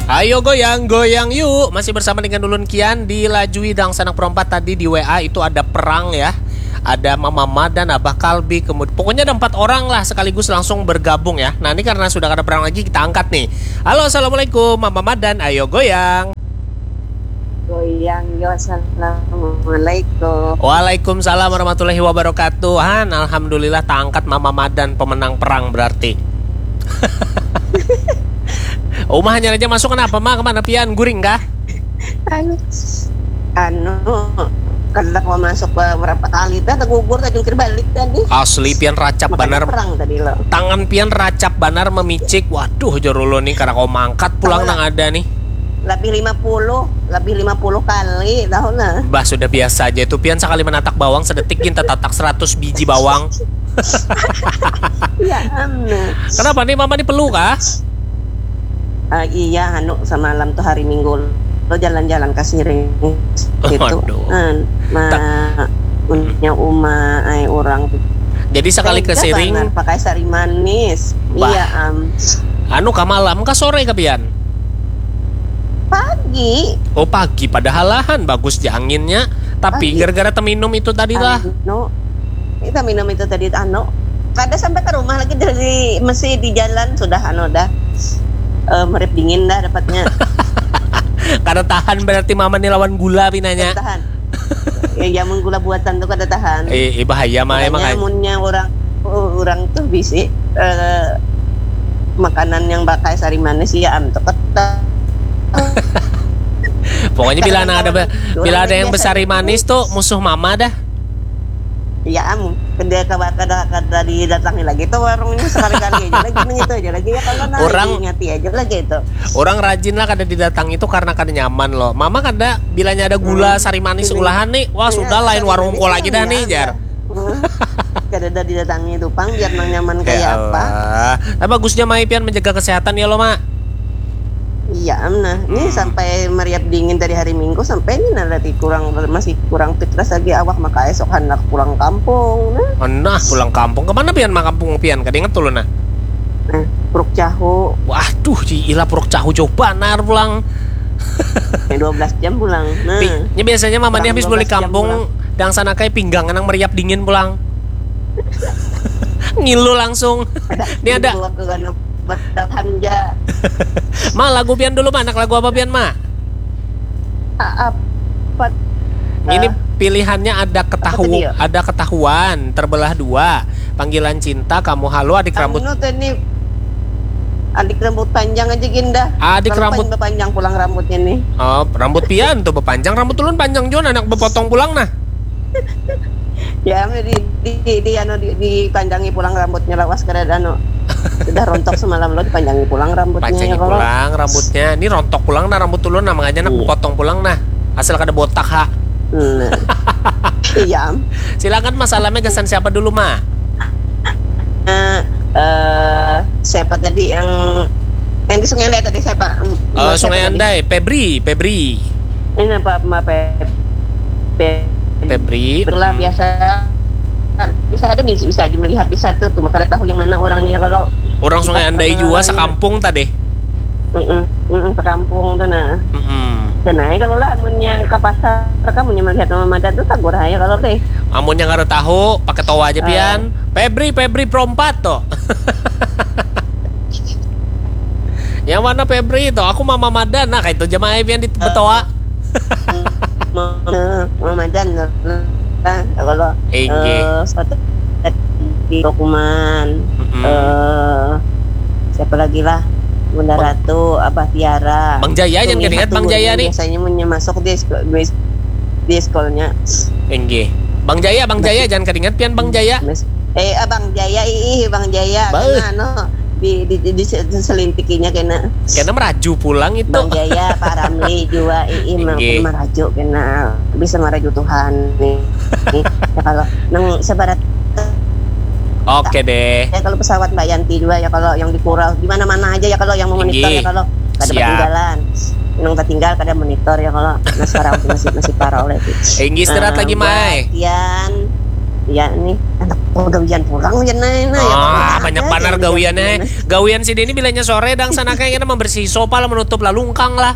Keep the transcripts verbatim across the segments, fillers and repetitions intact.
Ayo goyang, goyang yuk. Masih bersama dengan ulun Kian di Lajui Dangsanak Perompat. Tadi di W A itu ada perang ya. Ada Mama Madan, Abah Kalbi, kemudian pokoknya ada empat orang lah sekaligus langsung bergabung ya. Nah, ini karena sudah ada perang lagi, kita angkat nih. Halo, assalamualaikum Mama Madan, ayo goyang. Goyang yo, assalamualaikum. Waalaikumsalam warahmatullahi wabarakatuh. Han, alhamdulillah taangkat Mama Madan, pemenang perang berarti. Uma hanyar aja masuk, kenapa Ma? Kemana pian? Guring kah? Anu, anu, kada kawa masuk ba-, berapa kali dah, tegugur, tajungkir balik tadi. Asli pian racap Makanya banar. Perang tadi lo. Tangan pian racap banar memicik. Waduh, jar ulun nih, kada kawa mangkat pulang nang ada nih. Lebih lima puluh, lebih lima puluh kali tahu nah. Bah, sudah biasa aja itu pian, sekali menatak bawang sedetik gin tatatak seratus biji bawang. Ya, amna. Kenapa nih, Mama nih perlu kah? Uh, iya, anu, semalam tuh hari Minggu lo jalan-jalan ke Siring gitu. Aduh. Kan, ma punya uma ai orang tuh. Jadi sekali ke Siring pakai sari manis. Bah. Iya, am. Anu kah, malam kah, sore kah pian? Pagi. Oh, pagi, padahal lahan bagus ja anginnya. Tapi gara-gara teminum itu tadi lah. Anu, kita minum itu tadi, anu, kada sampai ke rumah lagi, dari masih di jalan sudah, anu, dah, uh, merip dingin dah dapatnya. Kada tahan berarti Mama nih lawan gula pinanya. Tahan. Ya, jamun gula buatan tuh kada tahan. Eh, eh bahaya mah. Makanya emang munnya orang, oh, orang tuh bisi, uh, makanan yang pakai sari manis ya, am, tuh kata. Pokoknya bila ada, bila ada yang besari manis tuh musuh Mama dah. Ya, am, kada, kada, kada didatangi lagi tuh warungnya, sekali-kali aja lagi, nang itu aja lagi ya, kalau nah, orang ingati aja lagi itu. Orang rajin lah kada didatangi itu karena kada nyaman loh. Mama kada, bilanya ada gula, hmm, sari manis, hmm, ulahan nih, wah, iya, sudah, lain warungku lagi dah nih, jar. Hmm. Kada ada didatangi itu pang, biar nang nyaman kayak apa. Nah, bagusnya Mai pian menjaga kesehatan ya lo, Mak. Iya, am, nah. Ini, hmm, sampai meriap dingin dari hari Minggu sampai ini, nah, lagi kurang, masih kurang fitras lagi awak, maka esok hendak pulang kampung, nah. Nah, pulang kampung. Kemana pian, mak, kampung pian? Kada ingat dulu, nah. Nah, Puruk Cahu. Waduh, ilah Puruk Cahu coba nar pulang. Dua belas jam pulang. Nah. Ini biasanya Mama nih habis balik kampung, dangsanak ai pinggang nang meriap dingin pulang. Ngilu langsung. Ini ada. Bertahan ja. Ma, lagu pian dulu, Ma. Anak lagu apa pian, Ma? Apa? Ini pilihannya ada ketahu, ada ketahuan, terbelah dua, panggilan cinta, kamu halo, adik rambut. Anu tuh nih, adik rambut panjang aja, Ginda. Adik rambut panjang pulang rambutnya nih. Oh, rambut pian tuh bepanjang, rambut ulun panjang juga, anak bepotong pulang nah. Ya, di, di, di, anu, di, dipanjangi pulang rambutnya, lawas kada, anu, sudah rontok semalam lo, dipanjangi pulang rambutnya. Panjangi ya, pulang rambutnya. Ini rontok pulang nah rambut ulun nah, makanya nak potong pulang nah, asal kada botak ha. Nah. Iya. Silakan, masalahnya gasan siapa dulu, Ma? Uh, uh, siapa tadi yang yang di Sungai Andai tadi, siapa? Uh, Sungai Andai, Pebri, Pebri. Ini apa, apa Pebri? Pebri. Itulah, hmm, biasa. Bisa ada, bisa, bisa melihat di satu tuh, maka tahu yang mana orangnya kalau orang Sungai Andai juga sekampung tadi. Mm -mm, mm -mm, sekampung tuh nah. Mm -mm. Dan aja kalau lah, amunnya ke pasar, kamunya melihat Mama Madan tuh, tagur aja kalau teh. Amunnya kada tahu, pakai tawa aja, uh, pian. Pebri, Pebri perompat tuh. Yang mana Febri itu? Aku Mama Madan. Nah, kayak itu jemaah pian di betoa. Mama Madan lah. Kalau eh, suatu di Dokuman, eh, siapa lagi lah? Bunda Ratu, Abah Tiara. Bang Jaya, jangan ingat Bang Jaya nih. Biasanya punya masuk di di sekolahnya. Enggih. Bang Jaya, Bang Jaya, jangan kadingat pian Bang Jaya. Eh, Abang Jaya, ih, Bang Jaya. Bah. Kena, no. Di, di, di, di selintikinya kena. Kena meraju pulang itu. Bang Jaya, Pak Ramli juga, ih, meraju kena. Bisa meraju Tuhan nih. Ya kalau nang sebarat. Oke deh. Ya kalau pesawat Mbak Yanti juga ya, kalau yang di Kurau, di mana-mana aja ya, kalau yang memonitor ya, kalau kada ketinggalan. Nang tertinggal kada monitor ya kalau. Nah, sekarang masih masih parah oleh itu. Inggih, istirahat lagi, Mai. Kian. Ya, ini anak pagawian pulang ya, nah, nah, ya, Ah, pokoknya banyak ada banar aja yang gawiannya. gawian. Gawian sidin ini bilanya sore dang sana kayak kena membersih sofa lah, menutup lah lungkang lah.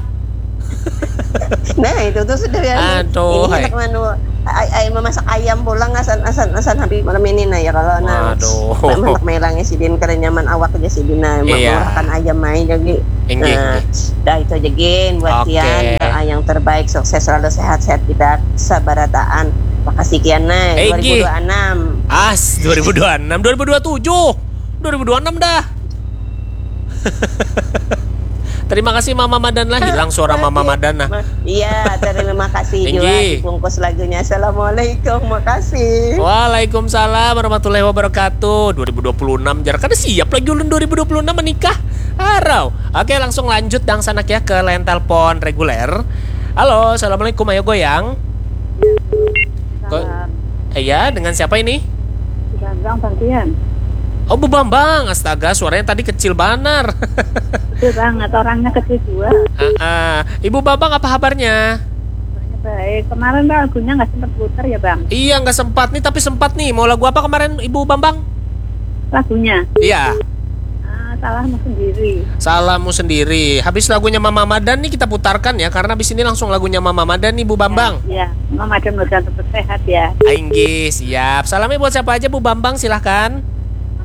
Nah, itu tuh sudah ya. Aduh, Ini hai. Anak manu, ay, ay, memasak ayam pulang asan asan asan habis malam ini, nah, ya kalau nah. Waduh. Masak melangnya sidin kada nyaman awak aja sidin, nah, Iya. makan ayam aja jadi. Inggih, Nah, inggih. Dah itu aja gin buat Oke. Tian, doa yang terbaik, sukses selalu, sehat-sehat kita sabarataan. Makasih Kian, nah. Inggih. Dua ribu dua puluh enam. As, dua ribu dua puluh enam, dua ribu dua puluh tujuh, dua ribu dua puluh enam dah. Terima kasih Mama Madan lah, hilang suara Mama Madan nah. Ma- Iya, terima kasih juga Inggih. Dibungkus lagunya. Assalamualaikum, makasih. Waalaikumsalam warahmatullahi wabarakatuh. Dua ribu dua puluh enam jar, kada siap lagi ulun dua ribu dua puluh enam menikah. Harau. Oke, langsung lanjut dang sanak ya ke line telepon reguler. Halo, assalamualaikum, ayo goyang. Ko- Iya, dengan siapa ini? Bambang Bangkian. Oh, Bu Bambang, astaga, suaranya tadi kecil banar. Kecil banget, orangnya kecil juga. Ah, ah. Ibu Bambang, apa kabarnya? Orangnya baik. Kemarin lagunya nggak sempat putar ya, Bang? Iya, nggak sempat nih, tapi sempat nih. Mau lagu apa kemarin, Ibu Bambang? Lagunya? Iya. Ah, Salahmu Sendiri. Salahmu Sendiri. Habis lagunya Mama Madan nih kita putarkan ya, karena habis ini langsung lagunya Mama Madan nih, Bu Bambang. Ya, Mama Madan mudah tetap sehat ya. Inggih, siap. Salamnya buat siapa aja, Bu Bambang? Silahkan.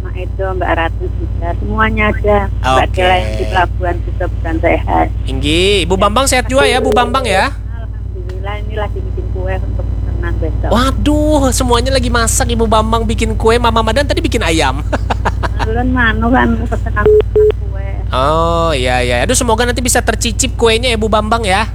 Mama Edo, Mbak Ratu juga. Semuanya aja. Mbak Oke. Dela yang di pelabuhan juga bukan sehat. Inggih, Ibu Bambang sehat juga ya, Bu Bambang ya. Alhamdulillah, ini lagi bikin kue untuk pesanan besok. Waduh, semuanya lagi masak, Ibu Bambang bikin kue, Mama Madan tadi bikin ayam. Ulun manu kan pesanan kue. Oh, iya, iya. Aduh, semoga nanti bisa tercicip kuenya ya, Bu Bambang ya.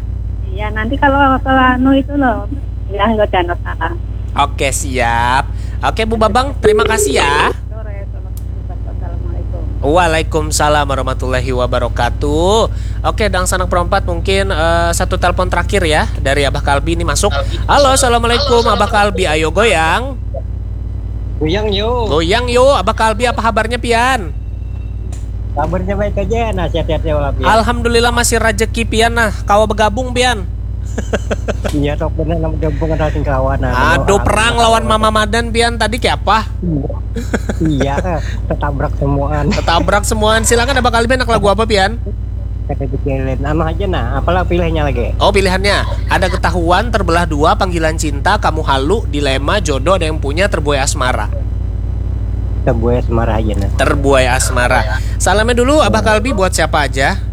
Iya, nanti kalau kalau anu itu loh, ya lo jangan salah. Oke, siap. Oke, Bu Bambang, terima kasih ya. Sore, assalamualaikum. Waalaikumsalam warahmatullahi wabarakatuh. Oke, dang sanak perompat, mungkin eh, satu telepon terakhir ya dari Abah Kalbi ini masuk. Halo, assalamualaikum Abah Kalbi, ayo goyang. Goyang yo. Goyang yo, Abah Kalbi, apa kabarnya pian? Kabarnya baik aja, nah sehat-sehat ya Wak. Ya. Alhamdulillah masih rajeki pian nah, kawa bergabung pian. Iya tok bener nama gabung ada sing kawan. Aduh, perang lawan Mama Madan pian tadi kayak apa? Iya, ketabrak semuaan. Ketabrak semuaan. Silakan Abah Kalbi, nak lagu apa pian? Kada dipikirin. Anu aja nah, apalah pilihnya lagi? Oh, pilihannya ada Ketahuan, Terbelah Dua, Panggilan Cinta, Kamu Halu, Dilema, Jodoh, Ada Yang Punya, Terbuai Asmara. Terbuai Asmara aja nah. Terbuai Asmara. Salamnya dulu Abah Kalbi buat siapa aja?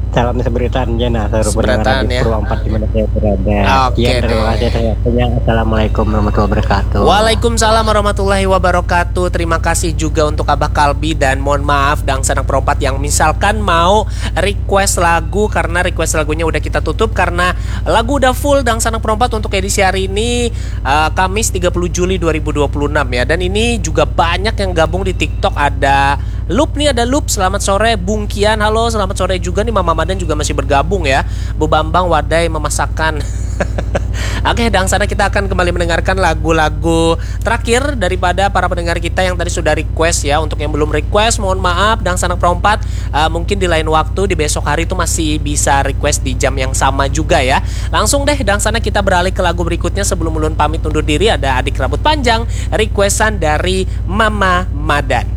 Salam seberitaan aja nah, seluruh Seberitaan, pendengar di ya. Purwampat di mana saya berada. Oke, Sekian, terima deh. Kasih saya punya. Assalamualaikum warahmatullahi wabarakatuh. Waalaikumsalam warahmatullahi wabarakatuh. Terima kasih juga untuk Abah Kalbi dan mohon maaf dang sanak perompat yang misalkan mau request lagu, karena request lagunya udah kita tutup karena lagu udah full dang sanak perompat untuk edisi hari ini, eh, Kamis tiga puluh Juli dua ribu dua puluh enam ya. Dan ini juga banyak yang gabung di TikTok, ada Lup nih, ada Lup, selamat sore. Bungkian, halo, selamat sore juga nih. Mama Madan juga masih bergabung ya. Bu Bambang, wadai memasakkan. Oke, dang sanak kita akan kembali mendengarkan lagu-lagu terakhir daripada para pendengar kita yang tadi sudah request ya. Untuk yang belum request, mohon maaf, dang sanak perompat, eh, mungkin di lain waktu, di besok hari itu masih bisa request di jam yang sama juga ya. Langsung deh, dang sanak kita beralih ke lagu berikutnya. Sebelum ulun pamit undur diri, ada Adik Rambut Panjang, requestan dari Mama Madan.